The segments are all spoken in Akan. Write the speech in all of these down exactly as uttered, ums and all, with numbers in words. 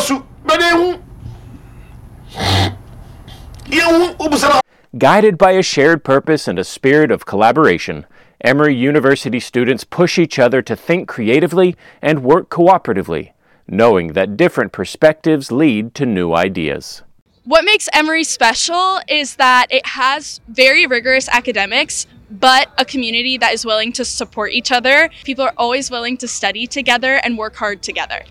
su bɛde ehu yɛhu wobisa na Guided by a shared purpose and a spirit of collaboration, Emory University students push each other to think creatively and work cooperatively, knowing that different perspectives lead to new ideas. What makes Emory special is that it has very rigorous academics, but a community that is willing to support each other. People are always willing to study together and work hard together.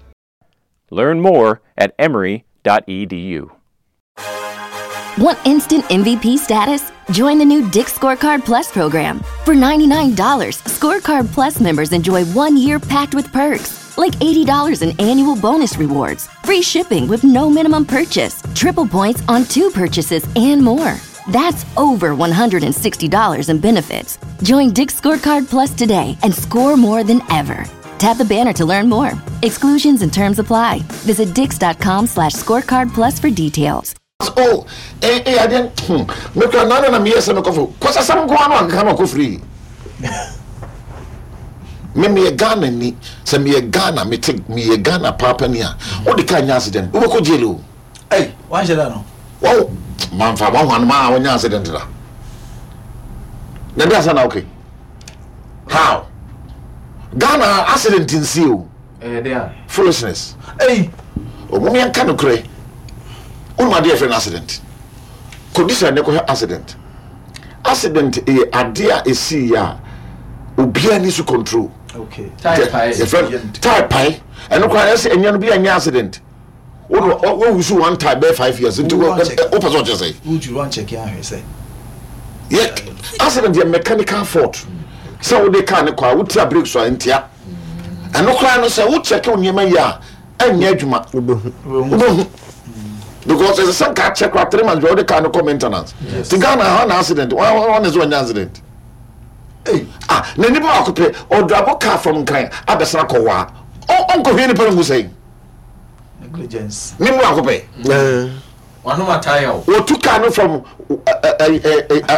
Learn more at emory dot e d u. Want instant M V P status? Join the new Dick's Scorecard Plus program. For ninety-nine dollars, Scorecard Plus members enjoy one year packed with perks, like eighty dollars in annual bonus rewards, free shipping with no minimum purchase, triple points on two purchases, and more. That's over one hundred and sixty dollars in benefits. Join Dick's Scorecard Plus today and score more than ever. Tap the banner to learn more. Exclusions and terms apply. Visit dicks dot com slash scorecard plus for details. Oh, eh, eh, I didn't. Hmm. Make a nana na me yes, no coffee. Cause I some go on and come free. Me me a Ghana ni, say me a Ghana, me take me a Ghana papa niya. What the kind accident? Who go jail? Hey, why should I know? Wow, man, for one one man, one accident la. Na that's not okay. How? Ghana accident in see you. Eh, there. Foolishness. Hey. Oh, mommy and can cry. Oh, my dear friend, accident. Condition ne ko accident. Accident e idea e see ya. Obi ani su control. Okay. Type pie. Your friend, type pie. And no cry say enya no bi anya accident. Wo wo wo su one type be five years. Nti wo o person just say. Would you run check here say? Yeah, accident ye mechanical fault. So wo de car ne kwa wo tia brake so ntia. And no cry no say wo check wo nyema ya anya adwuma. Obehu. Because there's a some car check for three months, the car no come maintenance. Yes. The Ghana had an accident. One, one is one accident. Hey. Ah, na nipa akope or drive car from Nkran abesra kowa. Oh, uncle here nipa ngu say. Negligence. Ni mu akope. Eh. Wano mataya o. O took car no from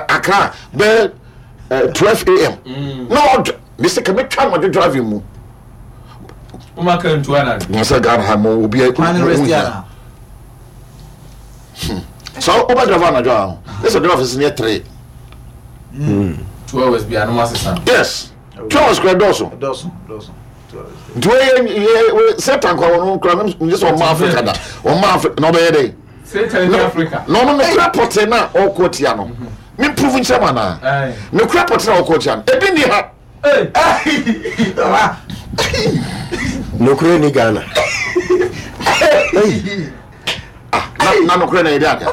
Accra be twelve A M. Mm. No, Mister Kemi try ma driving mu. O ma kan tuwa na. Mo say Ghana ha mo obi e. Plan rest ya. Hmm. So over driver na driver. This driver is near three. Mm. Two hours be anoma sesan. Yes. Two hours kura dɔɔso. Dɔɔso, dɔɔso. Two hours. Nti wey ye Satan kɔ ɔno kura ne sɛ ɔma Africa da. Ɔma Africa na ɔbɛyɛ dɛ. Satan ni Africa. Na ɔno ne kura pɔtɛ na ɔkɔ tia no. Mi prove nkyɛn ma na. Ne kura pɔtɛ na ɔkɔ tia no. Ebi ni ha. Ne kura ni Ghana. Na no kura na yɛ ade.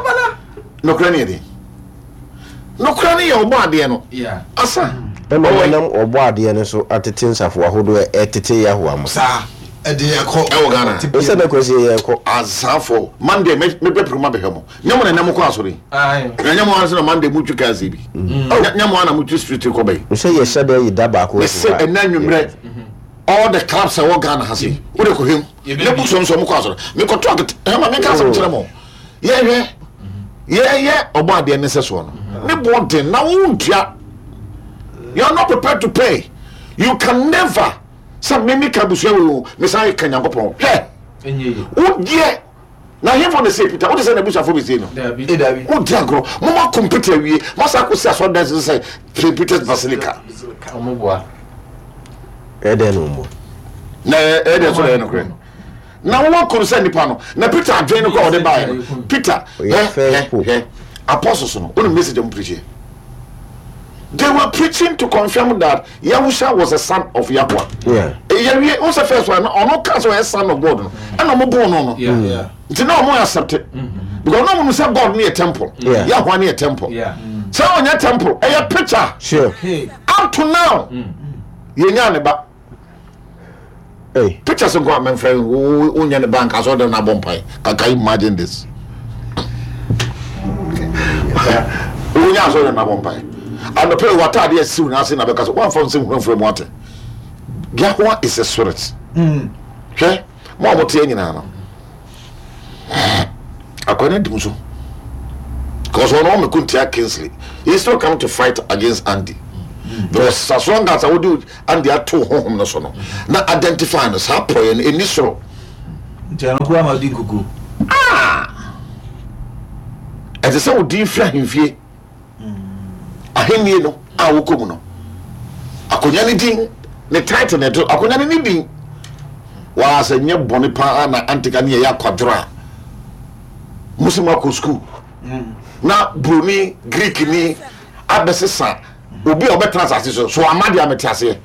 No kura na yɛ de. No kura na yɛ ɔbɔ adeɛ no. Asa. Ɛna wɔnam ɔbɔ adeɛ no so atete nsafo ahodoɔ ɛtete Yahowa mo. Saa ɛde ɛkɔ. Ɛwɔ Ghana. Ɛsɛ na kwasi yɛ ɛkɔ. Asafo Monday me me bɛ puruma bɛhwɛ mo. Nyɛ mo na ɛnam kɔ asɔre. Ayi. Nyɛ mo ansa na Monday mu twi kaase bi. Nyɛ mo ana mu twi street kɔ bɛyi. Nsɛ yɛ hyɛ dɛ yi da baako. Ɛsɛ ɛnna nwumrɛ. All the clubs ɛwɔ Ghana ha se. O de kɔ hwem. Ne bu sɔm sɔm kɔ asɔre. Me kɔ to akete. Ɛma me ka asɛm kyerɛ mo. Yɛ hwɛ. Yɛ yɛ ɔbɔ adeɛ ne sɛ soɔ no. Ne bɔ den na wo ntua. You are not prepared to pay. You can never. Some mimi kabusua wo me say kan Nyankopɔn. Hwɛ. Wo die na hemfo ne say Peter, wo de say na busafo be say no. Dabi. Dabi. Wo di agro. Mo ma computer wie. Ma sa ko si aso dan say Saint Peter's Basilica. Omo boa. E den no mo. Na e den so na no kre. Na wo ko say nipa no. Na Peter adwen no ko o de bae no. Peter, eh, apostles no. Wo message am preach. They were preaching to confirm that Yahusha was a son of Yahweh. Yeah. Yeah, was the first one. Or no can't say son of God. And no more born no. Yeah, yeah. It's no more accepted. Because no one said God near temple. Yeah. Yahweh near temple. Yeah. So on your temple, a picture. Sure. Hey. Up to now. You ba. Hey. Pictures of God, my friend, who in the bank, I saw them na bomb pie. Can you imagine this? Who ya saw them na bomb pie? And the prayer water there soon as in because one from some from water. Yahweh is a spirit. Okay? More what you know. According to Musu. Because one woman couldn't tell Kingsley. He still come to fight against Andy. Because as long as I would do Andy at two home no so no. Now identify us how prayer in this row. Nti ɛno koraa ma odi nkuku. Ɛte sɛ wo din firi ahemfie, ahennie no a wokɔ mu no, akonnwa ne din ne title na ɛto akonnwa no ne din. Waa sɛ nyɛ bɔne paa na antika ne yɛyɛ akwadworɔ a mo sɛ moakɔ sukuu na buroni Greek ni abɛsesa obi a ɔbɛtena asase so so ama deɛ amete aseɛ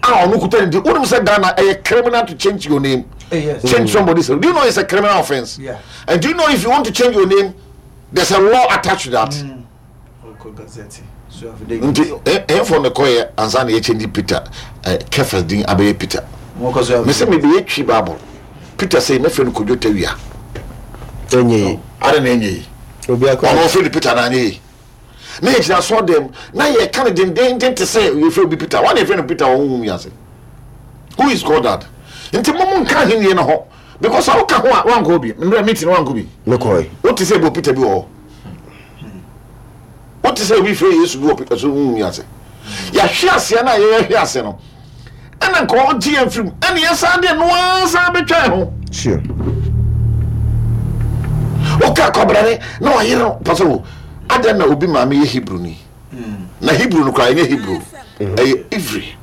a ɔno kuta ne din. Wonim sɛ Ghana ɛyɛ criminal to change your name? Eh, yes. Change somebody's name. Do you know it's a criminal offense? Yeah. And do you know if you want to change your name, there's a law attached to that? Ɔkɔ gazette so afidie. Nti ɛyɛfo ne kɔyɛ ansa na yɛkyɛnji Peter ɛ Kefas din abɛyɛ Peter. Wɔkɔ so. Mesɛ mebɛyɛ Twi Bible Peter sɛ mɛfrɛ no Kodwo Tawia. Ɛnyɛ yi. Ade na ɛnyɛ yi. Obi akɔ. Ɔno ɔfrɛ no Peter na anyɛ yi na yɛgyina asɔ dɛm na yɛka no dendenden te sɛ yɛfrɛ obi Peter wane yɛfrɛ no Peter wɔ honhom wiase. Who is called that? Nti mo mo nka ahennie no ho because sɛ woka ho a, wankɔ bi mmerɛ meeting no, wankɔ bi. Mekɔe. Wote sɛ ɛbɔ Peter bi wɔ hɔ, wote sɛ obi frɛ Yesu bi wɔ Peter so honhom wiase. Yɛahwe aseɛ no a yɛyɛhwe ase no, ɛna nka ɔgye yɛn firim, ɛne yɛsan deɛ noa san bɛtwa yɛn ho. Sure. Woka kɔbrane na wayere no pɛ sɛ wo adɛn na obi maame yɛ Hebrew ni na Hebrew no koraa ɛnyɛ Hebrew, ɛyɛ Ivri.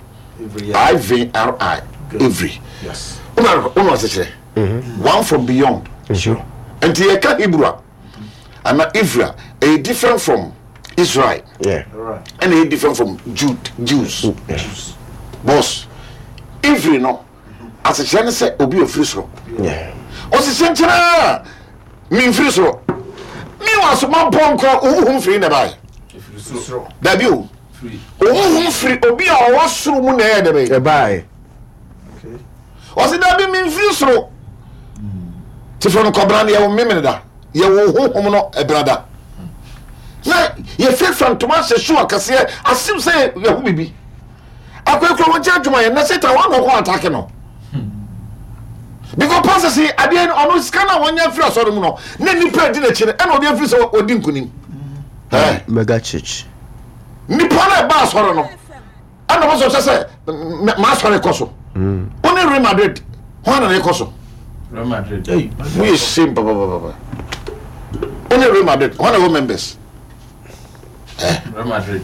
I V R I, Ivri. Yes. Wona wona ɔsɛ kyerɛ one from beyond. Sure. Nti yɛka Hebrew a ana Ivri a, ɛyɛ different from Israel. Yeah. Right. Ɛna ɛyɛ different from Jude, Jews. Boss, Ivri no asekyerɛ ne sɛ obi a ofiri soro. Yeah. Ɔsesɛ nkyɛn a memfiri soro, mewa asoma mpɔnkɔ wohuhum firi na baɛ. Ɛfiri soro. Dabi o. Firi. Wohuhum firi obi a ɔwɔ soro mu na ɛyɛ dɛ bɛyɛ. Ɛbae. Okay. Ɔse dabi, memfiri soro te fɛ no kɔbra no yɛwo memene da, yɛwo honhom no ɛbra da na yɛfirafira ntoma ahyɛ shoe akɛseɛ asem sɛ yɛho bibi akɔakura wɔn nkyɛn adwuma yɛ na Satan wɔn na ɔkɔ attack no because pastor si adeɛ no, ɔno sika no a wɔnyɛ firi asɔre mu no na nipa adi n'akyi no, ɛna ɔde afiri sɛ ɔdi nkunim. Ɛɛ Mega church. Nipa no ɛba asɔre no ɛna wɔn sɔ kyɛ sɛ maa asɔre kɔ so. Wɔn ne Real Madrid wɔn na ɛkɔ so. Real Madrid. Hey. Mo yɛ shame papapapa. Wɔn ne Real Madrid wɔn na ɛwɔ members. Real Madrid.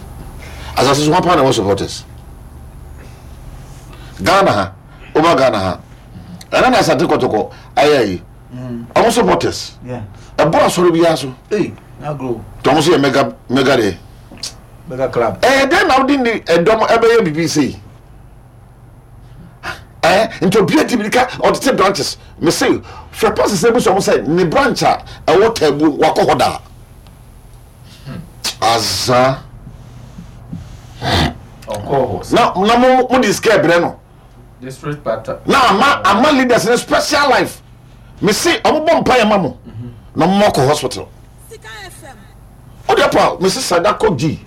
Asase so wɔn pa na ɛwɔ supporters. Ghana ha, ɔba Ghana ha ɛna na Asante Kɔtɔkɔ ayɛ yi, ɔmo supporters Yeah. ɛbɔ asɔre biara so. Hey. Now grow. Tí ɔmo so yɛ mega mega deɛ. Mega club. Ɛyɛ dɛn na wode ne ɛdɔm ɛbɛyɛ biribi sei? Ɛɛ nti obi adi mirika ɔtete branches. Mese fɛ pastor sɛ ebi sɛ ɔmo sɛ ne branch a ɛwɔ Taabu wakɔ hɔ daa aza. Ɔkɔɔ hɔ. Na na mo mo de sika ɛbrɛ no. District pastor. Na ama ama leaders ne special life. Mese ɔmo bɔ mpa yɛ ma mo na ɔmo akɔ hospital. O de pa mese sada kɔ gyi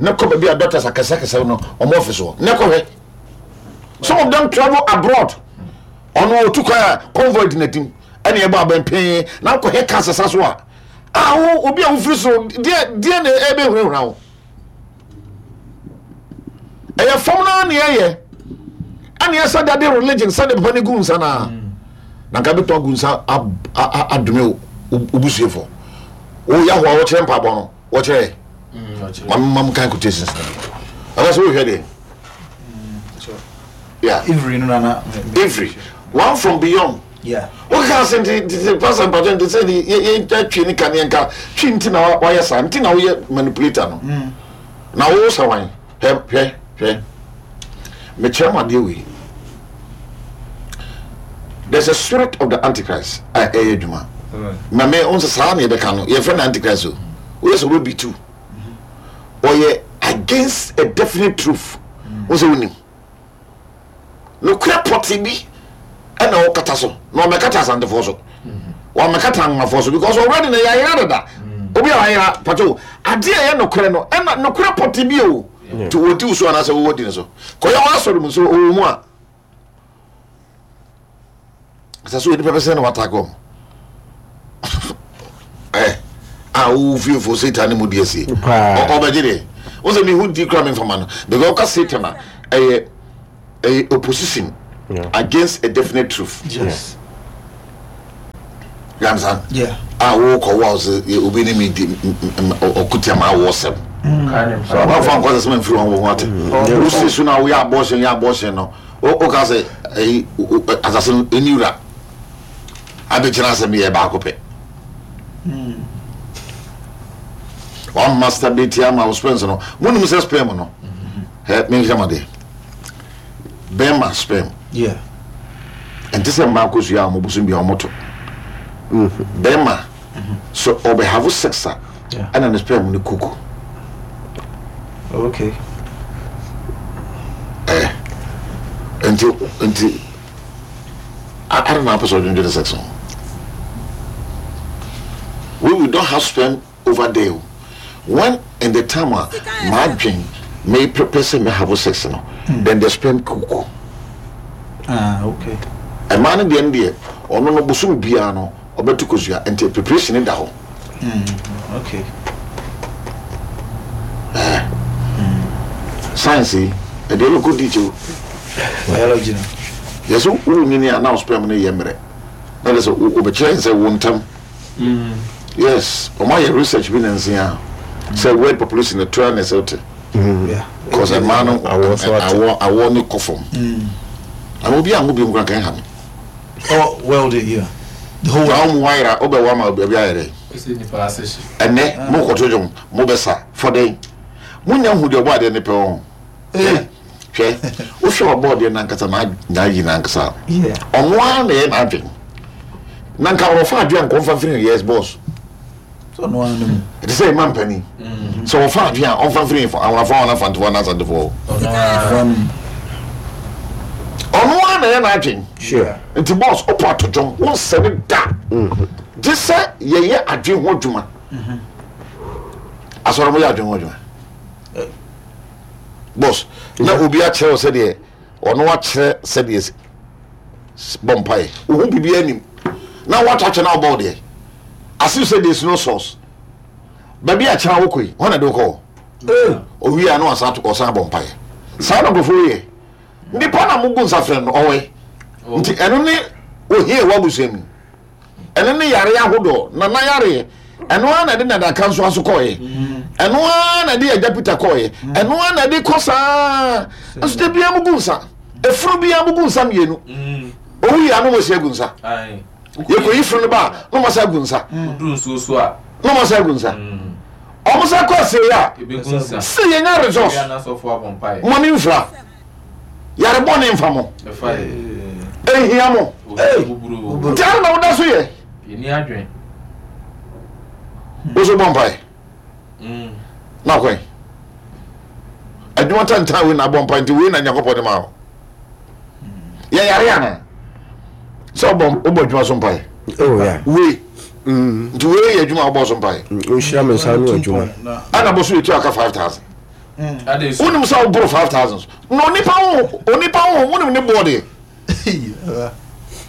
ne kɔ baabi a doctors akɛseakɛse no ɔmo office hɔ ne kɔ hwɛ. Some of them travel abroad. Ɔno otu kwan a convoy di n'anim ɛna ɛbɔ abɛnpɛn na akɔhɛ kaa sasa so a a wo obi a wofiri so deɛ deɛ na ɛbɛhurahura wo. Ɛyɛ fam naa ne ɛyɛ ɛne ɛsɛ dade religion sɛde papa ne gu nsa naa na nka bɛtɔ agu nsa ab- a- a- adome wo wo busuefo wo Yahoa a wɔkyerɛ mpaabɔ no wɔkyerɛ. Mm, mam mam kan quotations na ɛwɔ sɛ wohwɛ deɛ. Yeah. Ivri no nana. Every one from beyond. Yeah. Woka sɛ nti nti pastor mpatwɛ nti sɛ yɛ yɛ twi ne kaneɛ nka twi nti na wa- wayɛ saa nti na woyɛ manipulator no na wo sɛ wan. Hwɛ, hwɛ, hwɛ, mekyerɛ mo adeɛ wei. There's a spirit of the Antichrist a ɛyɛ adwuma na me wo sɛ saa ne yɛbɛka no, yɛfrɛ no Antichrist o. Woyɛ sɛ wobɛbi tu ɔyɛ against a definite truth. Wo sɛ wonim nokorɛ pɔte bi ɛna ɔkata so na ɔmɛkata Asantefoɔ so, wɔmɛkata Anwomafoɔ so because already na yɛayera dada. Obi a wayera pato adeɛ a ɛyɛ nokorɛ no ɛna nokorɛ pɔte bi o nti wɔdi wo so anaasɛ wowɔ di no so kɔyɛ wɔ asɔre mu so ɔwɔ mu a sɛ so nipa bɛsɛ na watake wɔm ɛ a wowo fiefoɔ Satan ne mu di asie. Paa. Ɔ- ɔbɛgye deɛ wo sɛ mehu di kora memfama no because ɔka Satan a ɛyɛ ɛyɛ opposition Yeah. against a definite truth. Yes. You understand? Yeah. A wokɔ wo a sɛ obi ne me di ɔkutia ma awɔ sɛm. Wafa nkɔ sɛ sɛ mfiri wɔn ho ate. Wosi so na woyɛ abortion yɛ abortion no. Woka sɛ ɛyi asase no ɛni wura. Abɛkyerɛ asɛm yɛ baako pɛ. One masturbate ama wo sperm no. Monim sɛ sperm no. Ɛ menhwɛ ma deɛ. Bɛrima sperm. Yeah. Ɛnte sɛ mmaa kosua a wɔn bosom bi a wɔn to. Bɛrima so ɔbɛ have sex a ɛna ne sperm no kuku. Okay. Ɛ nti nti ara na apɛ sɛ ɔdwendwene sex ho. We we don't have sperm over there. When in the time a maa dwen may prepare sɛ may have sex no, then the sperm kuku. Ah, okay. Ɛmaa no deɛ no deɛ ɔno no bosom biara no ɔbɛto kosua nti preparation da hɔ. Mm, okay. Eh. Science yi ɛdeɛ bɛkɔ di kyɛw. Biology no. Yɛsɛ wo nyini a na wo sperm no yɛ mmerɛ na de sɛ wobɛkyerɛ sɛ wo ntam. Yes, ɔmo ayɛ research bi na nsia sɛ world population no tura na ɛsɛ wote. Cause ɛmaa no awɔ awɔ ne kɔ fam. Ama obi anwo bi nkura kan ha no. Oh, world, yeah. The whole world. Na wɔn ayera wobɛwɔ ama obi ayɛ dɛ. Ɛnɛ mo kɔto dwom mo bɛsa fɔdɛn. Mo nya hu deɛ ɔbɔ adeɛ ne pɛ wɔn. Hwɛ wohwɛ ɔbɔ adeɛ nankasa na n'ayi nankasa. Ɔno ara na ɛyɛ n'adwene. Na nka wɔfa adwene nkɔmfa mfiri yes boss. Ɛte sɛ ɛma mpanin sɛ wɔfa adwene a ɔmfa mfiri awonafo wɔn afantefoɔ na asantefoɔ. Ɔno ara na ɛyɛ n'adwene. Nti boss ɔpɔ ato dwom wɔnsɛne da. Gye sɛ yɛyɛ adwene ho adwuma. Asɔre mo yɛ adwene ho adwuma. Boss na obi akyerɛ wo sɛdeɛ ɔno akyerɛ sɛdeɛ bɔ mpaeɛ. Wohu biribi anim na woatɔ na wobɔ wo deɛ. As if say there's no source. Baabi a kyerɛ wokɔ yi, hɔ na de wokɔ. Owie a na wasan ɔsan bɔ mpaeɛ. Saa na nkurɔfoɔ yɛ. Nipa na mugu nsa frɛ no ɔwɛ. Nti ɛno ne ohia ɛwɔ abusua mu. Ɛno ne yare ahodoɔ, nana yareɛ. Ɛno ara na ɛde nadaka nso aso kɔɔɛ. Ɛno ara na ɛde agya Peter kɔɔɛ. Ɛno ara na ɛde kɔ saa. Nso de bia mugu nsa. Efunu bia mugu nsa mmienu. Owu yi ano mo si agu nsa. Yɛkɔyi funu no ba a na ɔmo asa agu nsa. Na ɔmo asa agu nsa. Ɔmo sa kɔ asie a sɛ yɛnya resource mo ne mfira yarebɔ ne mfa mo ehia mo nti ara na woda so yɛ woso bɔ mpae na kwan adwuma tantan wei na abɔ mpae nti wei na Nyankopɔn de ma wo yɛ yare ana sɛ wobɔ wobɔ adwuma so mpae wei nti wei yɛ adwuma wobɔ so mpae nhyira me nsa no adwuma ana bɔ so yɛtua aka five thousand wonim sɛ woboro five thousand na onipa ho onipa ho wonim ne boɔ deɛ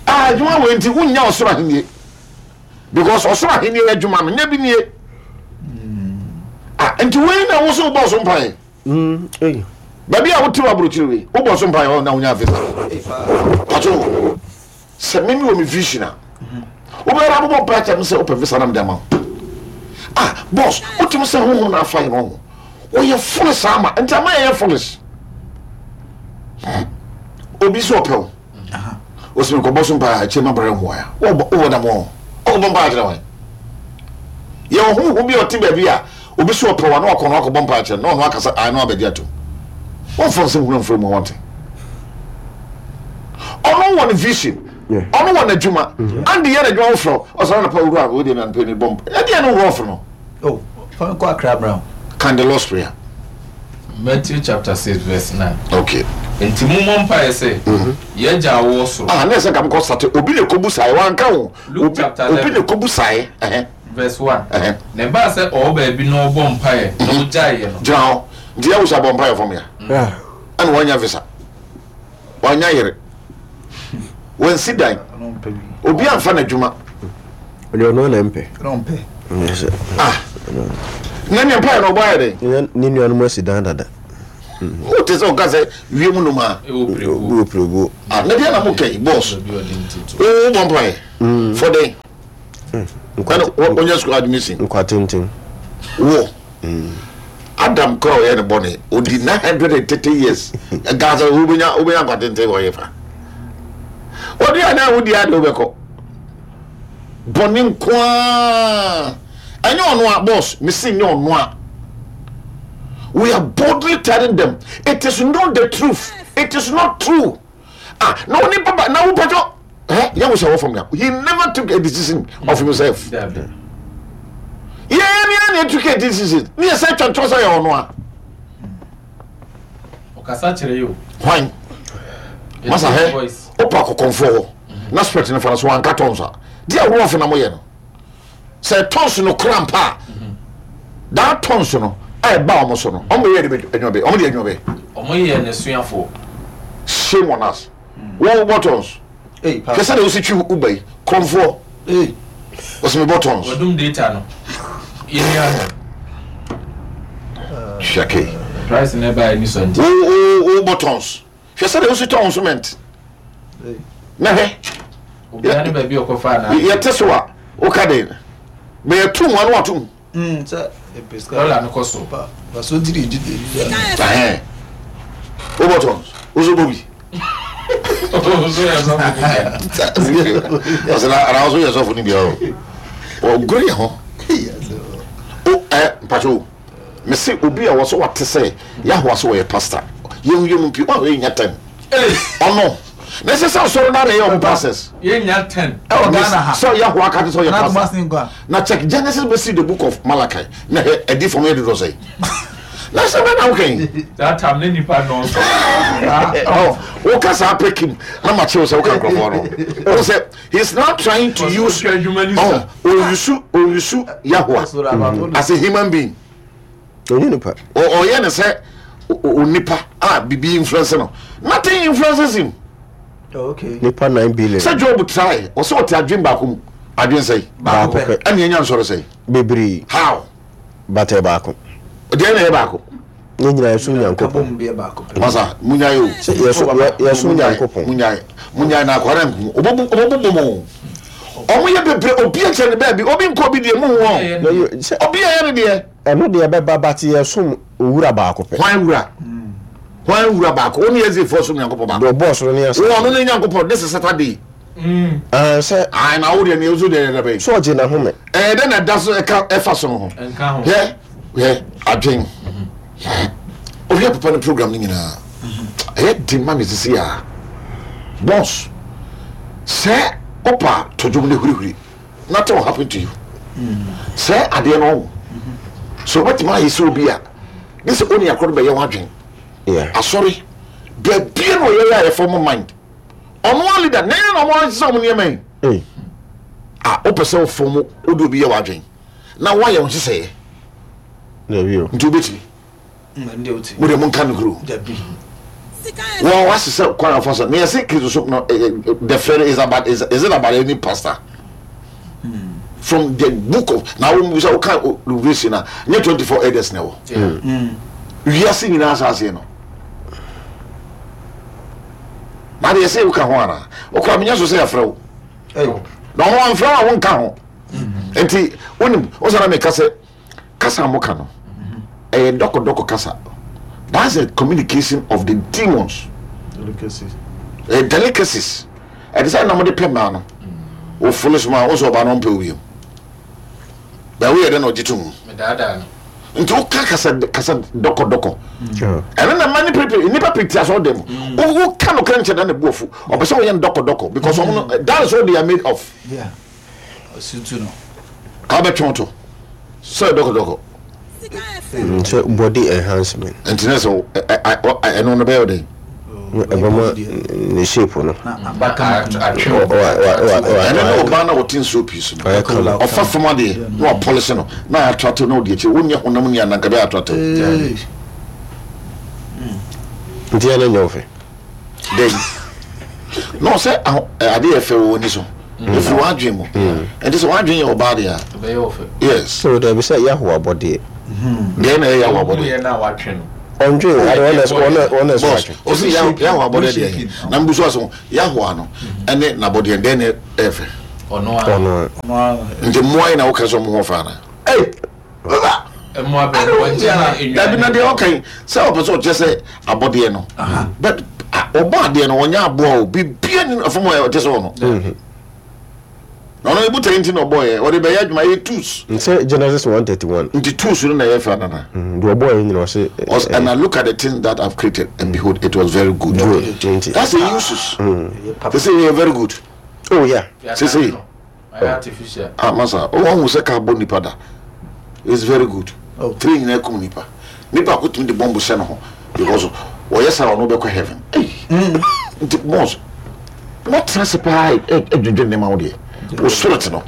ah adwuma wei nti wonnya ɔsoro ahennie because ɔsoro ahennie adwuma no nyɛ bi nie ah nti wei na wo so wobɔ so mpae baabi a wote wɔ aburokyire wei wobɔ so mpae hɔ na wonya visa pato sɛ mimi wɔ me vision a wobɛyɛ abobɔ mpae kyɛ me sɛ wopɛ visa na mede ama wo ah boss wotumi sɛ honhom na afa yɛ no ho wɔyɛ foolish ama nti ama yɛyɛ foolish obi sɛ ɔpɛ wo osimi kɔbɔ so mpae akyire ma brɛ ho a wowɔ dam wɔ ɔkɔbɔ mpae akyerɛ wɔn yɛwɔ honhom bi a ɔte baabi a obi sɛ ɔpɛ wa na wakɔ no akɔbɔ mpae akyerɛ na ɔno akasa ae na wabɛgye atom wɔmfa nsɛm hunu mfiri mu wɔnte ɔno wɔ ne vision ɔno wɔ n'adwuma ande yɛ n'adwuma wofrɛ ɔsɔre anɔpa wura wei deɛ nanpɛ ne bɔ mpa ɛdeɛ no wurɔfo no oh kɔ akra brown can the Lord's prayer Matthew chapter six verse nine. Okay. Nti mo mɔ mpaeɛ sɛ yɛn agya a ɔwɔ soro. Ah, na ɛsɛ nka mokɔ sate obi na ekobu sae wanka ho. Luke chapter eleven. Obi na ekobu sae. Verse one. Na ɛbaa sɛ ɔwɔ baabi na ɔbɔ mpaeɛ na ɔgyaeɛ no. Gyina hɔ. Nti yɛ wusa bɔ mpaeɛ fam ya. Ɛna wanya visa. Wanya yere. Wansi dan. Obi amfa n'adwuma. Ɔde ɔno na mpɛ. Ah. Na ne mpaeɛ na ɔbɔ ayɛ dɛ. Ne nuanom asi dan dada. Wote sɛ ɔka sɛ wiem nnomaa. Ɛwɔ pirebuo. Ah, na deɛ na mo kɛn boss. Wo bɔ mpaeɛ. For den. Ɛna ɔnyɛ school admission. Nkwa tenten. Wo Adam kora ɔyɛ ne bɔne odi nine hundred and thirty years. Gaza wobɛnya wobɛnya nkwa tenten wɔ yɛ fa. Ɔde a na wodi ade wobɛkɔ. Bɔne nkoaa. Ɛnyɛ ɔno a boss, mesi nyɛ ɔno a. We are boldly telling them it is not the truth. It is not true. Ah, no ni papa na wo pato. Eh, ya wo sɛ from he never took a decision of himself. Yeah, yeah, yeah, took a decision. Ni sɛ twantwa sɛ yɛ ɔno a. Ɔkasa kyerɛ yo. Hwan? Masa he. Opa kokonfo. Na spirit ne fa so anka tons a. Dia wo afo na mo yɛ no. Sɛ tons no krampa. That tons no I bow mo so no. Omo ye de adwuma be. Omo de adwuma be. Omo ye ne suafo. Shame on us. Wo buttons. Hey, pa. Kesa de wo si twi ubai. Kromfo. Hey. What's my buttons? Wadum data no. Ye ni aho. Shake. Price never any so. Wo wo buttons. Kesa de wo si ton cement. Hey. Na he. Obi ani ba bi okofa na. Ye teso a o ka de. Me ye tum anu atum. Mm, sir. Dollar no cost. Pa. So did did. Eh. O buttons. Ozo bobi. Ozo ya so. Asana ara ozo ya so funi bia o. O gori ho. O eh mpacho. Me se obi a wo so what say Yahweh so ye pastor. Ye ye mpi o ye nya ten. Eh. Ono. Na se so so na re ye pastors. Ye nya ten. E o Ghana ha. So Yahweh ka so ye pastor. Na check Genesis be see the book of Malachi. Na e di from here do say. Na se na okay. That time ne nipa no so. Oh, o ka sa pekim na ma che o se o ka nkrofo no. O say he's not trying to use oh, o use o use Yahweh as a human being. O nipa. O o ye ne say o nipa ah bibi influence no. Nothing influences him. Oh, okay. Nipa nine billion. Say Job try. O say o ti adwen ba ko adwen say. Ba ko pe. Ani enya nsoro say. Bebree. How? But e ba ko. De na e ba ko. Ni nyina yesu nyankopon. Masa munya yo. Yesu yesu nyankopon. Munya. Munya na akwara nku. Obobu obobu mo. Omo ye bebree obi eche ne ba bi. Obi nko bi de mu ho. Obi ye ne de. Eno de be ba but yesu owura ba ko pe. Hwan wura? Hwan wura ba ko? Oni eze fo so nyankopon ba. Do boss no ne asa. Wo no ne nyankopon this is Saturday. Mm. Ah say ah na wo de ne ozo de ne be. So je na ho me. Eh de na da so e ka e fa so ho. Enka ho. Ye ye adwen. Obi papa ne program ni nyina. Eh di ma me sisi a. Boss. Say opa to dwom ne hurihuri. Nothing will happen to you. Mm. Say ade no. So what my is obi a. This only akro be ye wadwen. Yeah. Ah sorry. Be bia no ye ya form mind. Ono leader na na mo nse mo ne man. Eh. Ah o pese form odo bi ye wadwen. Na wa ye won sese. Na bi o. Nti obeti. Nde oti. Mo de mo nka no kro. Da bi. Well, what's the quite of us? Me I say no the fair is about is, is it about any pastor? Mm. From the book of now we say okay revelation na twenty-four elders now. Yeah. Mm. We are seeing us as you know. Na they say we can ho ana. Okra me nyaso say afra wo. Eh. Na ho amfra wa won ka ho. Enti wonim wo say na me kase kasa mo ka no. Eh doko doko kasa. That's a communication of the demons. Delicacies. Eh delicacies. E decide na mo de pema no. O foolish man wo so ba no mpe obi. Ba we dey no jitum. Me dada no. Nti wo ka kasa kasa doko doko. Sure. And then many people nipa pictures all them. Wo ka no kan che na ne buofu. Obo so wo yen doko doko because mm. that is what they are made of. Yeah. Osutu no. Ka be twonto. So doko doko. Mm, so body enhancement. Nti na so I no no be dey. Eboma ne shape no. Na Aka atwe. O o o And then oba na wotin so piece no. Ofa fama de na polish no. Na attract no de chi wonya honam ni ananka be attract. Eh. Nti ya na nyofe. Dey. No say ade e fe wo ni so. If you want dream. And this one dream your body. Be yo fe. Yes. So there be say Yahweh body. Dey na Yahweh body. Ye na watwe no. Andre, I don't want to honest. Boss, o see Yahweh body dey. Na mbuso aso Yahweh no. Ene na body dey na efe. Ɔno a. Ɔno a. Nti mmoa yi na woka sɛ ɔmo ho fa ana? Ei! Baba! Mmoa bɛn? Mpɔnkye ne nnwan. Dabi na deɛ ɔka yi sɛ ɔpɛ sɛ ɔkyerɛ sɛ abɔdeɛ no. But ɔbɔ adeɛ no ɔnyɛ aboa o bibia ni fam a ɔte sɛ ɔno. Na ɔno ebu tɛn nti na ɔbɔ yɛ ɔde bɛyɛ adwuma yɛ tools. Nsɛ Genesis one thirty one. Nti tools no na ɛyɛ fɛ nana. Deɛ ɔbɔ yɛ nyina ɔse. Ɔse and I look at the things that I've created and behold it was very good. Good. Nti. That's the uses. They say yɛ very good. Oh yeah. Sese. Artificial. Ah masa o wɔn sɛ kaa bɔ nipa da. It's very good. Oh. Three nyinaa kum nipa. Nipa ko tumi de bɔmbu hyɛ ne ho because wɔyɛ saa ɔno bɛkɔ heaven. Nti boss wɔtena se paa ɛdwendwen nneɛma wo deɛ. Wo spirit no.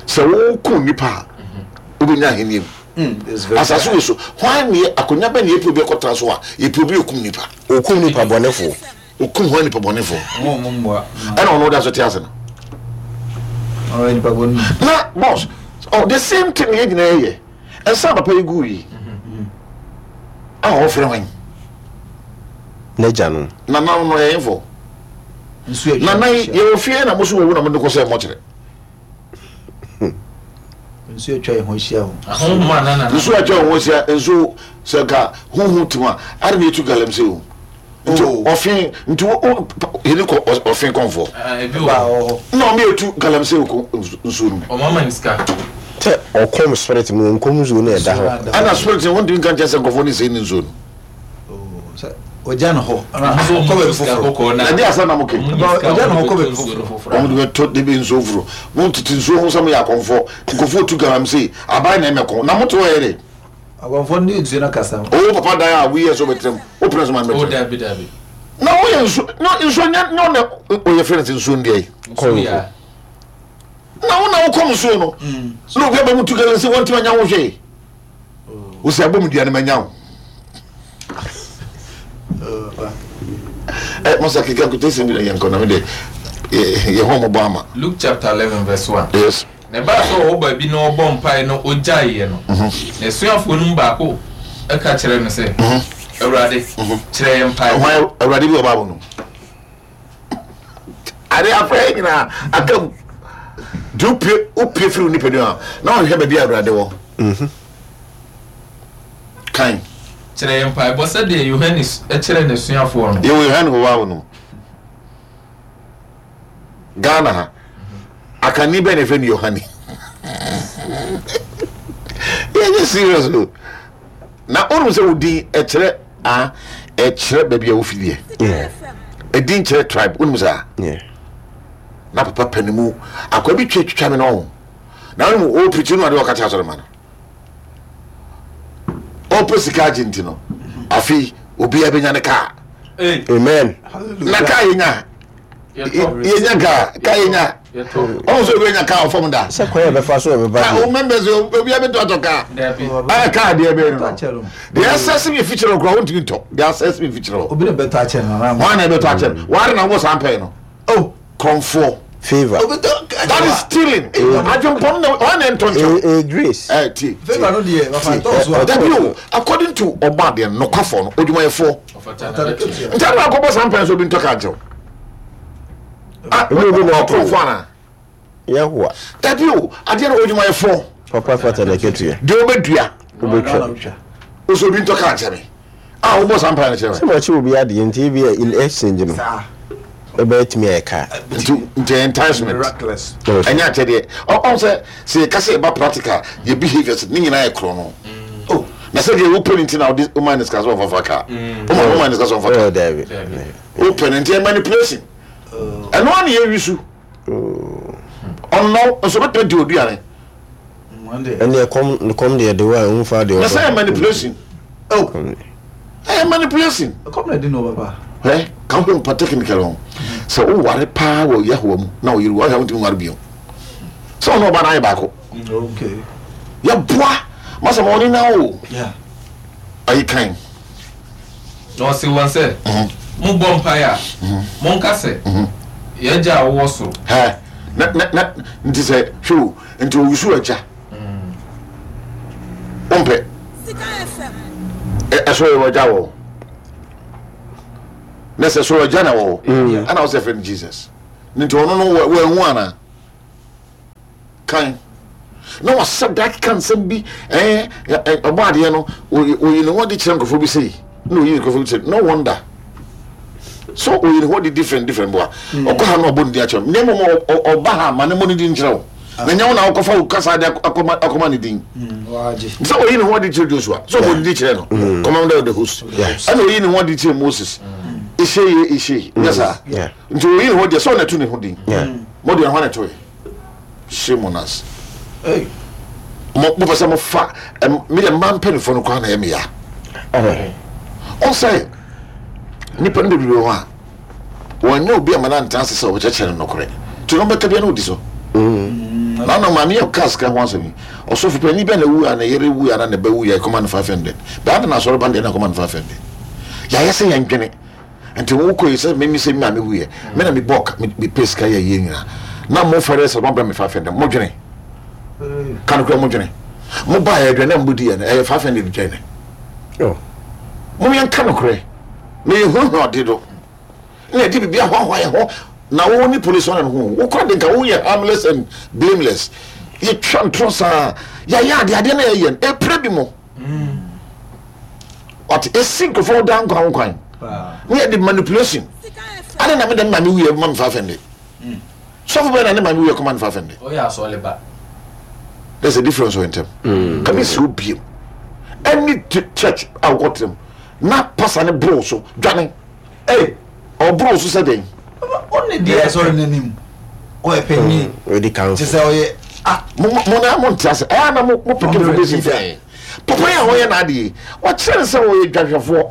Sɛ wokum nipa a wobɛnya ahenni mu. Asase wei so hwan ne akonnwa bɛ ne yɛpɛ obi akɔtena so a yɛpɛ obi okum nipa. Okum nipa bɔnefoɔ. Okum hwan nipa bɔnefoɔ. Ɛna ɔno da so te ase no. Na boss oh the same thing yɛ nyinaa yɛ. Ɛnsa papa yi gu yi. A ɔfrɛ hwan? N'agya no. Nana no yɛ info. Nana yi yɛwɔ fie na mo so wɔwu na mo de kɔ sɛ mɔkyerɛ. Nsuo atwa yɛn ho ahyia o. Nsuo atwa yɛn ho ahyia nsuo sɛ nka huhu tim a ade na etu galamsey o. Nti ɔfe nti wo yɛne kɔ ɔfe kɔnfoɔ. Na ɔmo etu galamsey ko nsuo no mu. Ɔmo ama ne sika. Sɛ ɔkɔm spirit mu nkɔm nsuo no ɛda hɔ. Ɛna spirit no wɔntumi nka nkyɛn sɛ nkurɔfoɔ ne sɛ ne nsuo no. Ɔgya ne hɔ. Ɔkɔ baabi foforɔ. Na ɛde asa na mo ke. Ɔgya ne hɔ kɔ baabi foforɔ. Ɔmo de bɛtɔ de bi nsuo foforɔ. Mo tete nsuo ho sɛ mo yɛ akɔnfoɔ. Nkurɔfoɔ tu galamsey aban na ɛmɛko na mo te hɔ yɛ de. Akɔnfoɔ ne nsuo no kasa. Owó papa dan a wuyɛ sɛ ɔbɛtena mu. O pere so ma mbɛtena. O dabi dabi. Na woyɛ nsuo na nsuo nyɛ nyɛ ɔna oyɛ fɛn sɛ nsuo ndeɛ yi. Kɔnfo. Na wo na wokɔm nsuo no. Na obi aba mu tu galamsey wɔn ti ma nya ho hwee. Wosi abɔ mu dua no ma nya ho. Eh, masa kika quotation bi na yɛn kɔ na me de yɛ hɔ mo bɔ ama. Luke chapter eleven verse one. Yes. Na ba so ɔwɔ baabi na ɔbɔ mpae no ogyaeɛ no. Na asuafoɔ no mu baako ɛka kyerɛ no sɛ, Awurade, kyerɛ yɛn mpae. Hwan Awurade bi wɔ Bible no. Ade afrɛ nyinaa aka mu. De wopie wopie firi wo nipadua na ɔhwehwɛ baabi a Awurade wɔ. Kan. Kyerɛ yɛn mpaebɔ sɛdeɛ Yohane kyerɛ n'asuafoɔ no. Yɛwɔ Yohane wɔ Bible no. Ghana ha. Akani bɛn na ɛfrɛ no Yohane. Yɛnyɛ serious o. Na wonim sɛ wo din ɛkyerɛ a ɛkyerɛ baabi a wofi deɛ. Ɛdin kyerɛ tribe wonim saa. Na papa panimu akwa bi twa twitwa me no ho. Na wonim o pirikyi no ade ɔka kyerɛ asɔre ma no. Ɔpɛ sika agye nti no. Afei obiara bɛnya ne kaa. Amen. Na kaa yɛnya. Yɛnya kaa kaa yɛnya. Ɔmo sɛ obi anya kaa ɔfam da. Sɛ kwan yɛ bɛfa so ɔbɛba. Kaa o members obi abɛtɔ atɔ kaa. Ɛyɛ kaa deɛ bɛyɛ no. Deɛ asɛse mi fi kyerɛ okura wontumi ntɔ. Deɛ asɛse mi fi kyerɛ o. Obi na bɛtɔ akyɛ no. Wɔn na bɛtɔ akyɛ no. Wɔn na wɔn san pɛɛ no. Oh. Kɔnfoɔ. Favor. That is stealing. Adwempɔn na wɔn na ntɔ nkyɛn. Eh grace. Ɛ ti. Favor no deɛ wafa tɔ so a. Dabi o according to ɔba deɛ nokwafoɔ no odwumayɛfoɔ. Nti adi akɔbɔ san pɛn so obi ntɔ kaa nkyɛw. Ah, obi na ɔkɔnfoɔ ana. Yahuwa. Dabi o adeɛ no odwumayɛfoɔ. Papa fata na ketewa. Deɛ obɛdua. Obɛtwa. Oso obi ntɔ kaa nkyɛn mi. Ah, wobɔ san pɛn kyerɛ mi. Sɛ wɔkye obi adeɛ nti ebi yɛ in exchange no. Ɛbɛyɛ tumi ayɛ kaa. Nti nti enticement. Ɛnyɛ akyɛdeɛ. Ɔn sɛ sɛ yɛka sɛ yɛba practical yɛ behaviours ne nyinaa yɛ korɔ no. Oh, na sɛ deɛ wopɛ ne nti na wode woma ne sika sɛ ɔmfafa kaa. Woma woma ne sika sɛ ɔmfa kaa. Oh, dabi. Wopɛ ne nti ɛyɛ manipulation. Ɛno ara na yɛwi so. Ɔnnɔ nso bɛtumi di oduane. Ɛne ɛkɔm kɔm deɛ de wa nfa deɛ. Na sɛ ɛyɛ manipulation. Oh, ɛyɛ manipulation. Ɛkɔm na di na ɔbɛba. Hɛ ka ho mpa technical ho. Sɛ woware paa wɔ Yahowa mu na ɔyere wo ahwɛ wontumi nware bio. Sɛ ɔno ɔba no ayɛ baako. Okay. Yɛboa masa ma ɔne na o. Yeah. Ayi kan. Na ɔse wɔn sɛ, mobɔ mpaeɛ a, monka sɛ, yɛn agya a wowɔ soro. Hɛ na na na nti sɛ hwɛ o nti owusu agya. Wompɛ. Ɛsoro yɛ wɔ agya wɔ. Na sɛ soro agya na wɔ. Ɛna wɔ sɛ fɛ no Jesus. Nti ɔno no wɔahu ana. Kan na wasɛ da keka nsɛm bi, ɛɛ ɔbɔ adeɛ no, oyi ne ho de kyerɛ nkurɔfoɔ bi sei na oyi nkurɔfoɔ bi sei. No wonder so oyi ne ho de different different boa. Ɔkɔ ha na ɔbɔ ne din akyerɛ ne mmom ɔba ha ma ne mmɔ ne din kyerɛ wo, na nyɛ wo na wokɔfa wo kasa de akɔma akɔma ne din. Sɛ oyi ne ho de kyerɛ Joshua, sɛ ɔbɔ ne din kyerɛ no, commander of the host, ɛna oyi ne ho de kyerɛ Moses, ehyɛ yɛ ehyɛ nyɛ saa. Nti oyi ne ho deɛ sɛ ɔna ɛto ne ho din mo deɛ ho na ɛto yɛ. Shame on us. Mo mo pɛ sɛ mo fa mi deɛ mmaa mpanyinfoɔ no koraa na ɛyɛ mi ya. Ɔnsɛ nipa no bebree wɔ hɔ a wɔnyɛ obi a ma na ntena ase sɛ ɔbɛkyerɛkyerɛ no nokorɛ nti no bɛka bia na ɔdi so. Na na maame yɛ kaa sika ho asɛm yi, ɔsɔfo panyin bɛn na wu a ne yere wu a na ne ba wu yɛ kɔma no five hundred bɛn na asɔre ba deɛ na kɔma no five hundred. Yɛayɛ sɛ yɛn dwene nti wo kɔ yi sɛ mimi sɛ maame wu yɛ me na me bɔ me pɛ sika yɛ yie nyinaa na mo fɛrɛ sɛ mo brɛ me five hundred. Mo dwene kan kura mo dwene mo ba yɛ dwene na mo di yɛ no ɛyɛ five hundred dwene. Mo yɛn ka no korɛ na yɛ hu hu ɔde do na yɛde biribi ahoahoa yɛ ho na wo ne police ɔna no ho wo kora de nka wo yɛ harmless and blameless. Yɛtwa ntorɔ saa yɛayɛ ade adeɛ na yɛyɛ no ɛpere bi mo ɔte ɛsi nkurɔfoɔ da nkwan nkwan ne yɛde manipulation ade na mede maame wuyɛ ma me five hundred. Sɔfo bɛn na ne maame wuyɛ kɔma no five hundred. Ɔyɛ asɔle ba. There's a difference wɔ ntɛm. Kàmi si obiem any church a wokɔ tẹm na pasa ne boro so dwane ee ɔboro so sɛ den. Ɔne deɛ asɔre n'anim ɔyɛ panyin te sɛ ɔyɛ ah. Mo mo na mo nte ase ɛyà na mo mo pick information fɛn papa yi a ɔyɛ n'ade yi wɔkyerɛ ne sɛ ɔyɛ dwahwɛfoɔ.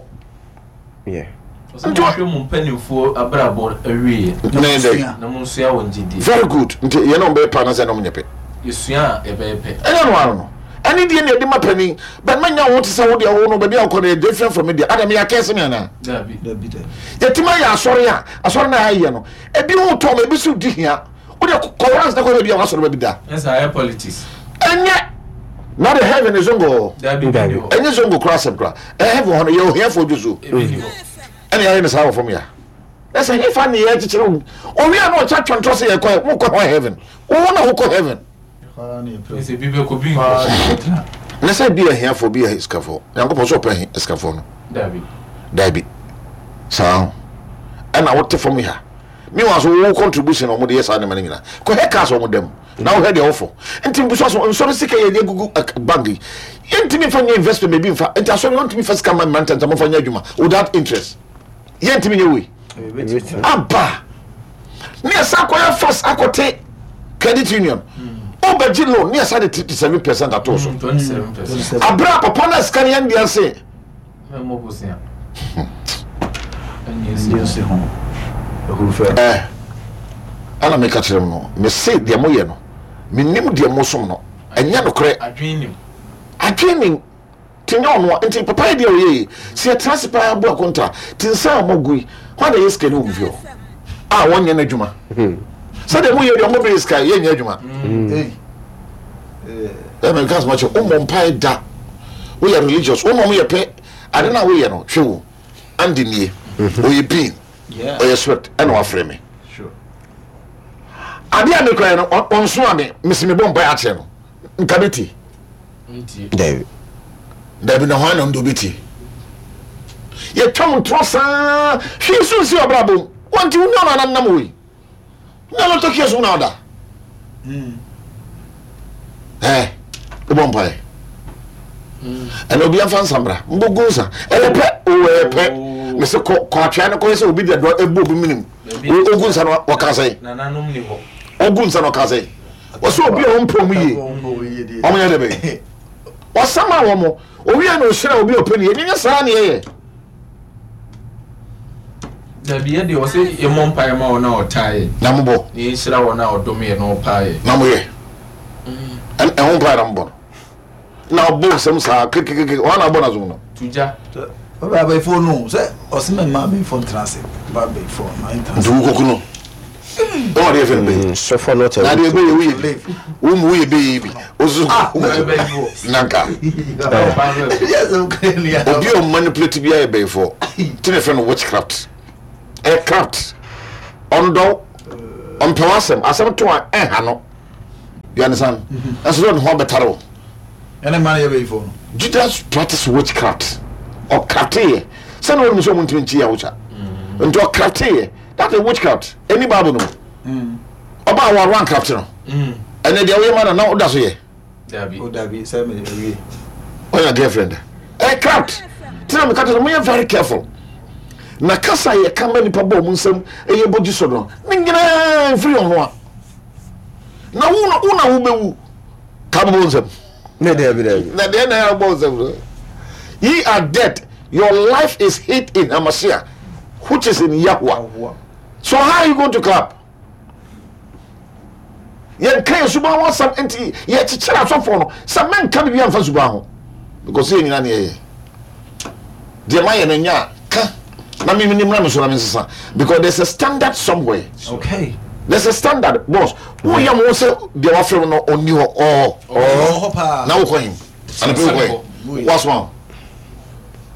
Nti wɔhwɛ mu mpanimfoɔ abrabɔ awieɛ na mo nsua wɔn gyidie. Very good. Nti yɛn na wɔn bɛyɛ pa anasɛ na wɔn nyɛ pɛ. Yɛsua a yɛbɛyɛ pɛ. Ɛnyɛ no ano no ɛne deɛ na yɛde ma panin bɛn ma nya wɔn te sɛ wo deɛ wo no baabi a wokɔ no yɛ different from me deɛ adam yɛ akɛse me anaa. Dabi. Yɛtumi ayɛ asɔre a asɔre na ayɛ no ebi ho tɔ ma ebi so di hia wo deɛ kɔwrans na kɔ baabi a wasɔre baabi da. Ɛsɛ ayɛ politics. Ɛnyɛ na de heaven is zongo. Dabi bi ni hɔ. Ɛnyɛ zongo kora asɛm kora ɛyɛ heaven hɔ no yɛ ohiafoɔ dwo so. Ebi ni hɔ. Ɛna yɛayɛ no saa wɔ fam ya. Ɛsɛ hefa ne yɛ kyekyere wo owia na ɔkyɛ atwantɔ sɛ yɛkɔ mo kɔ hɔ heaven wo na wokɔ heaven. Ɛsɛ bi bɛkɔ bi nkɔ. Na sɛ bi yɛ hiafoɔ bi yɛ sikafoɔ Nyankopɔn sɛ ɔpɛ sikafoɔ no. Dabi. Dabi. Saa ɛna wote fam ya. Meanwhile so wo contribution a wɔde yɛ saa nneɛma no nyinaa kɔhɛ cars wɔn dam na wohwɛ deɛ wofo nti mbusa so nsɔre sika yɛ de gugu bank yi yɛntumi nfa nyɛ investment baabi nfa nti asɔre yɛntumi fa sika ma mmerante nti wɔmfa nyɛ adwuma without interest yɛntumi nyɛ wei aba ne yɛsa akɔyɛ fast akɔte credit union wobɛgye loan ne yɛsa de thirty seven percent ato so abere a papa no sika no yɛn deɛ se Eh, ana meka kyerɛ m no mese deɛ moyɛ no menim deɛ mosom no ɛnyɛ nokorɛ adwene nim nti nyɛ ɔno a nti papa yɛ deɛ ɔyɛ yi sɛ yɛtena ase paa bu akonta nti nsa a mogu yi hɔ na yɛ sika ne wɔ fie hɔ a wɔnyɛ no adwuma sɛdeɛ moyɛ deɛ ɔmɔbɛyɛ sika yɛnyɛ adwuma. Ɛmɛ nka asoma kyɛ wommɔ mpae da woyɛ religious wo na ɔmo yɛ pɛ ade no a woyɛ no hwɛ wo ande nie ɔyɛ bean ɔyɛ sweat ɛna wafrɛ me ade a mekura no ɔnso a me mesi mebɔ mpae akyerɛ no nka bɛtie Dabi. Dabi na hwan na ɔno de obɛtie yɛtwa mo ntorɔ saa hwee so nsi ɔbrabɔ mu wɔnti wo nua no ananam wɔ yi na no tɔkiɛ so na ɔda ɛ wobɔ mpae ɛna obi afa nsa mbra mbɔgu nsa ɛyɛ pɛ o ɛyɛ pɛ mese kɔ kɔ atwea no kɔyɛ sɛ obi de dɔ ebu obi minim ogu nsa no wɔka sɛ ogu nsa no ɔka sɛ wɔsɛ obi a ɔmpɛ ɔmo yie ɔmo yɛ dɛ bɛyɛ ɔsama wɔn mo owia na ɔhyira obi a ɔpɛ ne yɛ nyɛ saa ne yɛyɛ. Dabi yɛ deɛ ɔsɛ yɛmmɔ mpaeɛ ma wɔn a ɔtaa yɛ. Na mobɔ. Na yɛnhyira wɔn a ɔdom yɛ na ɔpaa yɛ. Na moyɛ. Ɛho mpaeɛ na mobɔ no. Na ɔbɔ nsɛm saa kekekeke wɔn na ɔbɔ n'asom no. Tugya. Ɔbɛ abɛɛfo no sɛ ɔsɛ mɛ mmaa abɛɛfo ntena ase ba abɛɛfo mmaa ntena ase. Nti wokɔku no. Ɛwɔ adeɛ fɛn bɛyi. Sɔfo no tɛ. Na adeɛ bɛyɛ woyɛ bi. Wo mu woyɛ bɛyɛ bi. Osu nanka. Obi a ɔmanipulate bi ayɛ bɛyifoɔ. Ti na fɛn no witchcraft. Ɛ craft. Ɔndɔw. Ɔmpɛ w'asɛm. Asɛm to a ɛnha no. You understand? Ɛnso sɛ ɔde ho abɛtare wo. Ɛne mmaa no yɛ bɛyifoɔ no. Judas practice witchcraft. Ɔkrafteeɛ. Sɛne wɔnim sɛ ɔmo ntumi nkyi Yahusha. Nti ɔkrafteeɛ. That is witchcraft. Ɛni Bible no mu. Ɔbaa wɔ around craft no. Ɛnɛ deɛ woyɛ ma no na woda so yɛ. Dabi. O dabi sɛ me awie. Ɔyɛ girlfriend. Ɛyɛ craft. Tina mi ka kyerɛ mo yɛ very careful. Na kasa yɛ ka ma nipa bɔ ɔmo nsam ɛyɛ bɔ gyi so no. Ne nyinaa nfiri ɔno a. Na wo na wo na wo bɛwu. Ka bɔ nsam. Ne dabi dabi. Na deɛ na yɛ bɔ nsam no. Ye are dead. Your life is hid in Hamasiah, which is in Yahuwah. So how are you going to clap? Yɛnka yɛ suban ho asɛm nti yɛkyekyere asɔfoɔ no sɛ menka biribi amfa suban ho because yɛ nyina ne yɛyɛ deɛ mayɛ no nya a ka na memenim na me so na mensesa because there's a standard somewhere. Okay. There's a standard, boss. Woyɛ mo sɛ deɛ wafrɛ mu no ɔnni hɔ ɔɔ Ɔwɔ hɔ paa. Na wokɔ hin anapɛ wokɔ hin wasoma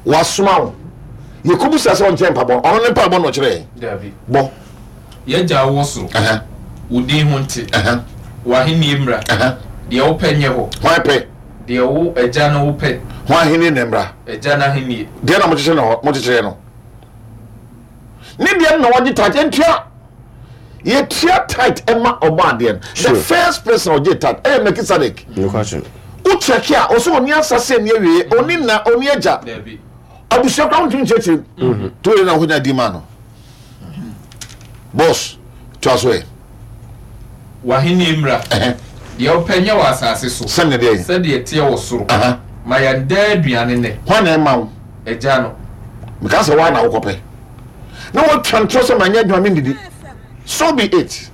wo wasoma wo yɛkɔbu sa sɛ ɔnkyerɛ mpabɔ ɔno ne mpabɔ na ɔkyerɛ yɛn Dabi. bɔ. Yɛgya wɔ soro. Ɛhɛ. Wo din ho nte. Ɛhɛ. W'ahenni mmra. Ɛhɛ. Deɛ wopɛ nyɛ hɔ. Hwan pɛ? Deɛ wo agya no wopɛ. Hwan ahenni na mmra? Agya no ahenni. Deɛ na mokyekyere no hɔ mokyekyere no ne deɛ no na wɔgye tithe ntua yɛtua tithe ɛma ɔbɔ adeɛ no. The Sure. first person a ɔgye tithe ɛyɛ Melchizedek. Nokwasɛm. Wokyɛke a ɔsɛ ɔni asase ni awie ɔni na ɔni agya. Dabi. Abusua koraa wontumi nkyerɛkyerɛ mu nti wode na wonya di ma no boss toa so ɛ. W'ahenni mmra. Ɛhɛ. Deɛ wopɛ nyɛ wɔ asase so. Sɛdeɛ deɛ? Sɛdeɛ ɛteɛ wɔ soro. Aha. Ma yɛn daa aduane nnɛ. Hwan na ɛma wo? Agya no. Meka sɛ woa na wokɔpɛ na wotwa ntorɔ sɛ manyɛ adwuma mendidi. So be it.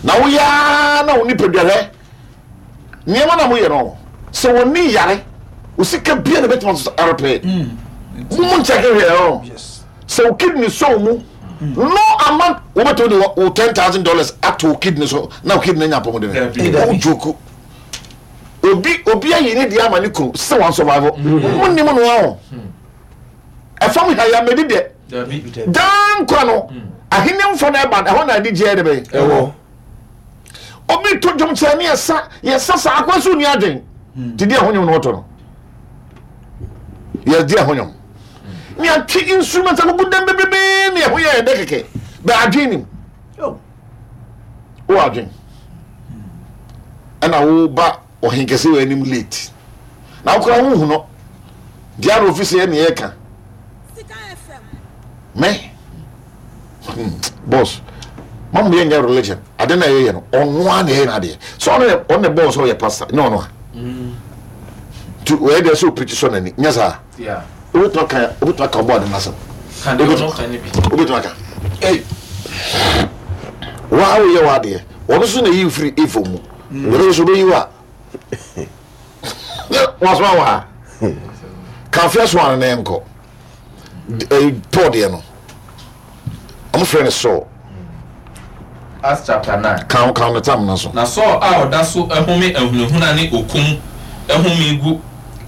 Na woyaa na wo nipadua hwɛ nneɛma na moyɛ no sɛ wɔni yare wo sika bia na bɛtumi aso arepɛ mo nkyɛke hwɛ ɔ Yes. sɛ wo kidney sɔ wo mu no amount wobɛtumi de wo ten thousand dollars ato wo kidney so na wo kidney nya apɔmuden. Dabi. Wo joke obi obi ayi ne deɛ ama ne kunu sɛ wɔn survive mo nim no ahɔ ɛfam ha yɛ amedi deɛ Dabi. daa nkwa no ahenni mfɔ no ɛba ɛhɔ na adi gyeɛ de bɛyɛ Ɛwɔ. Obi to dwom kyerɛ ne yɛsa yɛsa saa akwa so ni adwen te di ɛho nwom na wɔtɔ no yɛdi ɛho nwom ne atwe instrument agugu dɛm bebrebe ne ɛho yɛ ɛdɛ kɛkɛ bɛ adwen nim Oh. wo adwen ɛna woba ɔhen kɛse wɔ anim late na wokora wohu no deɛ ara ofi sɛ yɛ ne yɛka me hmm, boss mamu yɛ nyɛ religion ade na yɛyɛ no ɔno a na yɛyɛ no adeɛ sɛ ɔno yɛ ɔno na bɔɔ sɛ ɔyɛ pastor nyɛ ɔno a nti ɔyɛ deɛ sɛ ɔpirikyi sɔ n'ani nyɛ saa. Yeah. Wobɛtumi aka wobɛtumi aka ɔbɔ ade n'asɛm. Ka deɛ ɔno ka ne bi. Wobɛtumi aka waa woyɛ w'adeɛ ɔno so na yi firi efo mu ɔno nso bɛyi wo a wasoma wɔ ha kamfia so ano na ɛnkɔ ɛyi Paul deɛ no ɔmo frɛ no Saul. Acts chapter nine. Kan kan no tam na so. Na Saul a ɔda so ɛhome ahunahuna ne okum ɛhome gu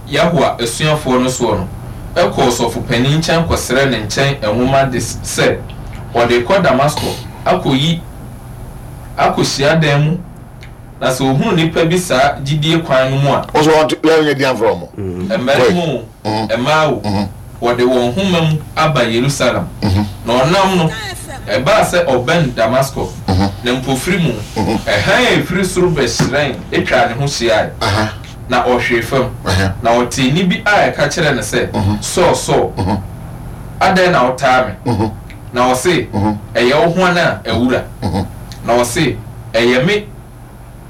Yahuwa asuafoɔ no soɔ no ɛkɔɔ sɔfo panin nkyɛn kɔsrɛ ne nkyɛn nwoma de sɛ ɔde kɔ Damasko akɔyi akɔ hyiadan mu na sɛ ohunu nipa bi saa gyidie kwan no mu a. Ɔsɔ wɔn yɛn nyɛ di anfrɛ wɔn. Mmarima o, mmaa o, wɔde wɔn homa mu aba Yerusalem. Na ɔnam no, ɛbaa sɛ ɔbɛn Damasko, na mpofiri mu, ɛhan a ɛfiri soro bɛhyerɛn atwa ne ho hyiae. Na ɔhwee fam, na ɔtee nne bi a ɛka kyerɛ no sɛ, Saul, Saul, adɛn na wotaa me? Na ɔse, ɛyɛ wo hwan a, awura? Na ɔse, ɛyɛ me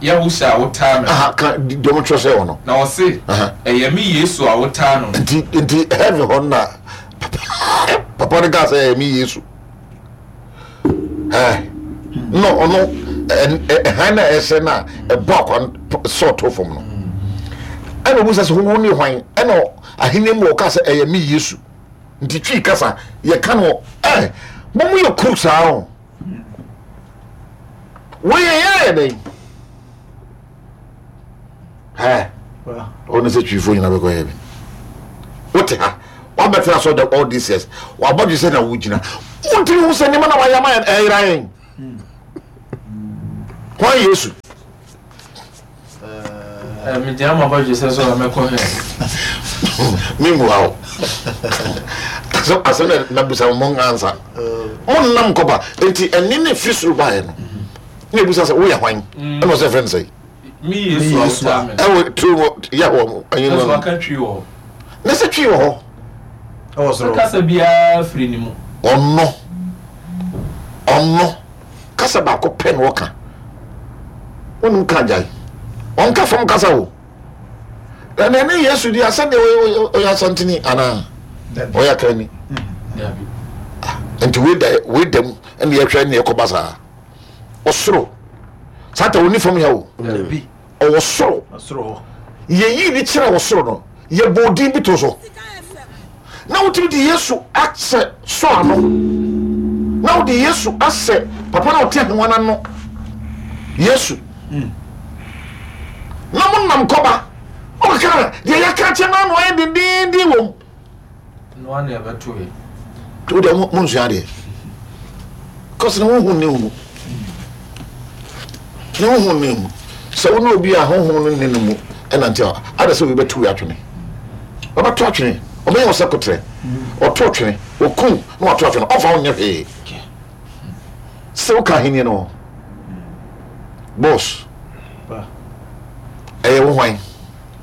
Yahusha a wotaa me. Aha, ka dɔm twerɛ sɛ wɔ no. Na ɔse, ɛyɛ me Yesu a wotaa no. Nti nti heaven hɔ na papa no kaa sɛ ɛyɛ me Yesu. Ɛɛ no ɔno ɛhan na ɛhyɛ na ɛbɔ akwa sɔɔto fam no. Ɛna omu sɛ sɛ wo ne hwan ɛna ahenni mu ɔka sɛ ɛyɛ me Yesu. Nti twi kasa yɛka no ɛɛ mo mo yɛ kuru saa o. Wɔyɛ yɛ yɛ dɛn? Ɛ ɔno sɛ twifoɔ nyina bɛkɔ heaven. Wote ha wabɛtena so the all these years wabɔdwe sɛ na wogyina wontumi hu sɛ nneɛma na wayɛ ama yɛn ɛyera yɛn. Hwan Yesu? Megyina ma bɔdwe sɛ so a mɛkɔ hɛ. Memua wo asɛm na nabusa mo ngansa monnam kɔba. Enti ɛne ne firi soro baeɛ no ne ɛbusa sɛ woyɛ hwan? Ɛna ɔsɛ frɛ no sɛ mi Yesu a wotaa me. Ɛwɔ turo mu Yahowa mu ɛnyɛ no. No aka twi wɔ hɔ. Ne sɛ twi wɔ hɔ. Ɛwɔ soro. Kasa biara firi ne mu. Ɔno ɔno kasa baako pɛ na ɔka. Wonim ka gyae. Ɔnka fam kasa o. Ɛna ɛne Yesu di asɛdeɛ ɔyɛ asantini anaa ɔyɛ akrani. Nti wei da wei da mu ɛna yɛhwɛ ne yɛkɔba saa. Ɔsoro sata oni fam ya o. Ɔwɔ soro. Yɛyi ne kyerɛ wɔ soro no yɛbɔ odin bi to so. Na wotumi de Yesu asɛ so ano. Na wode Yesu asɛ papa na ɔte ahengua no ano. Yesu. Na mo nam kɔba. Ɔkaka deɛ yɛka kyɛ no ano ayɛ dendenden wɔ mu. No ana ɛbɛto yɛ. Wode mo nsua adeɛ. Kɔsi ne honhom ne mu. Ne honhom ne mu. Sɛ wo ne obi a honhom no ne no mu ɛnante a ada sɛ obi bɛto atwene. Ɔbɛto atwene. Ɔbɛyɛ wo sɛ kotrɛ. Ɔto twene. Ɔkum na wato atwene. Ɔmfa wo nyɛ hwee. Sɛ woka ahenni no boss. Ɛyɛ wo hwan?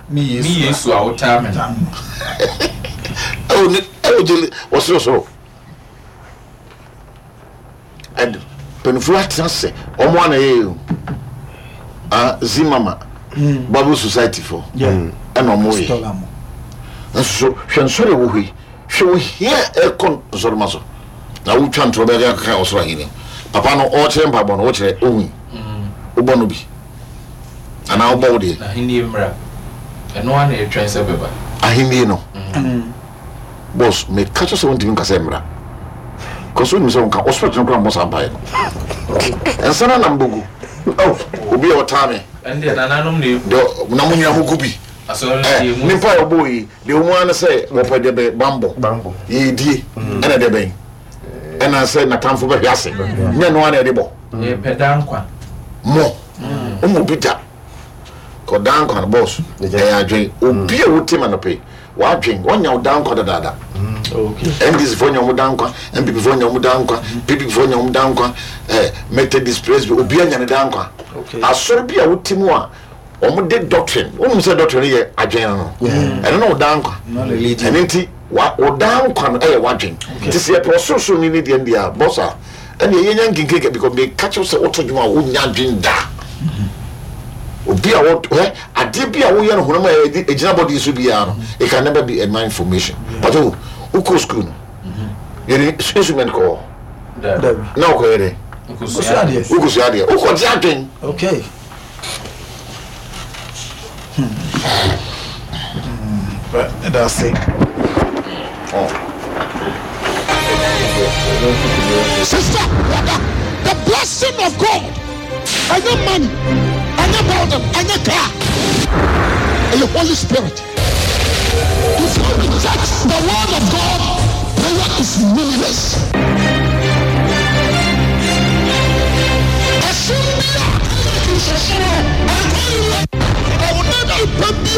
Mi Yesu a wotaa me no. Ɛwɔ ne ɛwɔ gyele wɔ sorosoro. And mpanyinfoɔ atena sɛ ɔmo ana yɛ o. Ah, Zimama Bible Society fo. Ɛna ɔmo yɛ. Nso hwɛ nsɔre wɔ hɔ yi. Hwɛ wɔ hia ɛkɔ nsɔrema so. Na wotwa ntorɔ bɛyɛ kaka ɔsoro ahenni. Papa no ɔkyerɛ mpaebɔ no ɔkyerɛ ohun. Wobɔ no bi. Anaa wobɔ wo deɛ. Ahenni mmra. Ɛno ana ɛtwɛn sɛ bɛba. Ahenni no. Boss, meka kyerɛ sɛ wontumi nka sɛ mmra. Kɔso wonim sɛ wonka ɔsoro tene koraa mmɔ saa mpaeɛ no. Ɛnsa no nam bogu. Oh, obi a ɔtaa me. Ɛndeɛ nananom na egu. Deɛ na mo nyina mo gu bi. Asɔre Eh, deɛ mu. nipa a ɔbɔ yi, deɛ ɔmu ara ne sɛ wɔpɛ deɛ bɛ bambɔ. Bambɔ. Yɛdie. Ɛna deɛ bɛn. Ɛna sɛ n'atamfo bɛhwɛ ase. Nyɛ no ara na ɛde bɔ. Yɛpɛ daa nkwa. Mo. Ɔmo bi da. Kɔ daa nkwa no boss. Ɛyɛ adwen. Obi a wote ma no pɛ. Wadwen. Wɔnya wo daa nkwa dadaada. N D C fo nya ɔmo daa nkwa, N P P fo nya ɔmo daa nkwa, P P fo nya ɔmo daa nkwa, eh, Methodist Presby, obi anya ne daa nkwa. Asɔre bi a wote mu a ɔmo de doctrine, wonim sɛ doctrine yɛ adwen no. Ɛno na wo daa nkwa. Ɛno nti wa wo daa nkwa no ɛyɛ wadwen. Nti sɛ yɛpɛ ɔsorosoro ni ne deɛ deɛ a boss a ɛne yɛnya nkenkenka because meka kyerɛ sɛ woto dwom a wonya adwen da. Obi a wɔ hɛ adeɛ bi a woyɛ no honam a ɛgyina bɔde so biara no, it can never be a mind formation. But oh, wokɔ school no, yɛde instrument kɔ hɔ. Na wokɔyɛ dɛ? Wokɔsua adeɛ. Wokɔsua adeɛ. Wokɔgye adwen. Okay. That's it. Oh. Sister, brother, the blessing of God, and your money, and your building, and your car, and your Holy Spirit. If you